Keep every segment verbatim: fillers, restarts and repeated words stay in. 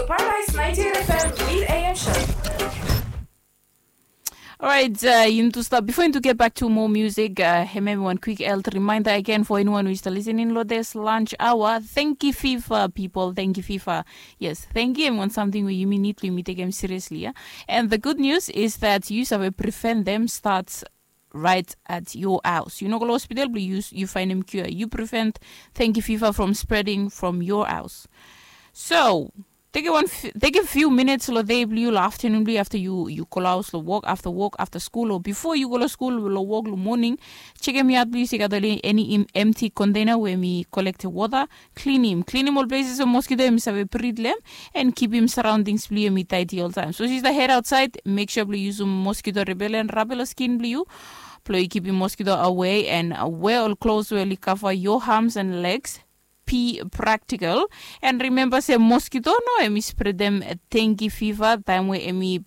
Paradise ninety-eight F M, Lead A M Show. Alright, uh, yumi tu stap before yumi tu get back to more music. Uh, hemia wan quick health reminder again for anyone who is listening lo this lunch hour. Thank you, FIFA people. Thank you, FIFA. Yes, thank you. Wan something we yumi need, yumi take them seriously. Yeah? And the good news is that you have prevent them starts right at your house. You know, go hospital, but you you find them cure. You prevent thank you, FIFA, from spreading from your house. So take a one, take a few minutes lo day blue lo afternoon blue after you you go house lo work after work after school or before you go lo school lo work lo morning. Check em out blue. You got any empty container where me collect water. Clean him, clean him all places of mosquito him save breed lem, and keep him surroundings blue him tidy all time. So she's the head outside. Make sure blue use mosquito repellent rubber skin blue. Blue keep him mosquito away and wear all clothes where cover your arms and legs. Be practical. And remember, say mosquito no, emi spread them dengue fever time where emi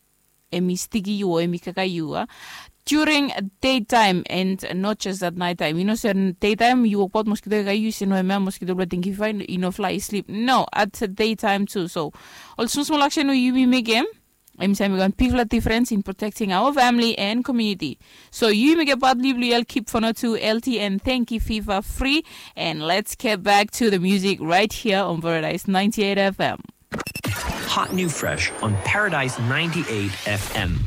emi stiki yu o emi kaka yu a during daytime and not just at night time. You know, say daytime you work about mosquito kaka yu say no emi mosquito bla dengue fever, you know, fly sleep. No, at daytime too. So also small action you be make him. Emi say we can big difference in protecting our family and community. So you make a bad blue keep for not to L T and thank you fever free. And let's get back to the music right here on Paradise ninety-eight F M. Hot new fresh on Paradise ninety-eight F M.